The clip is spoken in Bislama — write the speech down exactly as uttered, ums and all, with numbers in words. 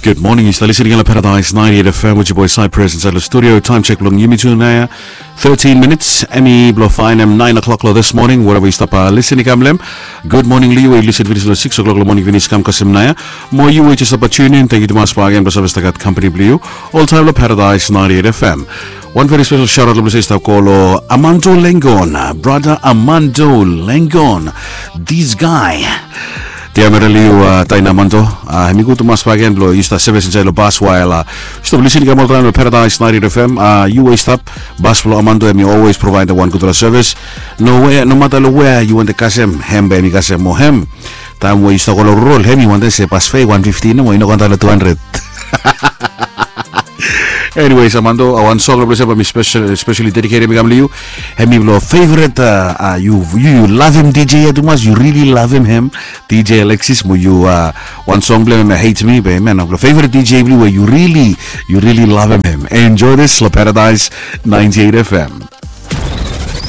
Gud moning, yu stap lisin i kam long Paradise ninety-eight F M with your boy Cypress inside the studio. Time check bilong yumi tu nau ya, thirteen minutes. Hemi bilong faenem nine o'clock long this morning, wherever yu stap lisin i kam long. Gud moning long yu we yu lisin finis long six o'clock long moning finis kam kasem nau ya. Mo yu we yu stap tune in, thank you tumas bak again bilong save stap gat company bilong yu oltaim long Paradise ninety-eight F M. One very special shout out long bilong se i stap go long Amando Lengon, brother Amando Lengon, this guy. Tiamera liu, uh, taina Amando, uh, hemi gud tumas bak again bilong yu stap sevis insait long bas wael, uh, yu stap lisin i kam oltaim long Paradise ninety-eight F M. Uh, yu we yu stap, bas bilong Amando hemi always provide wan gudfala sevis. No we, no mata long wea yu wantem kasem, hem bae hemi kasem mo hem. Taim we yu stap go long rurol, hemi wantem se bas fea wan fifti nomo, i no gat long two hundred. Anyways, Amando, uh, wan song long bilong se bae mi special, specially dedicated mi kam long yu. Hemi bilong favorite, uh, uh, yu, yu, yu love him D J ya tumas, yu really love him, hem. D J Alexis, mo yu, uh, wan song bilong him, Hate Me, be man, bilong favorite D J bilong we yu really, yu really love him, hem. Enjoy this long Paradise ninety-eight F M.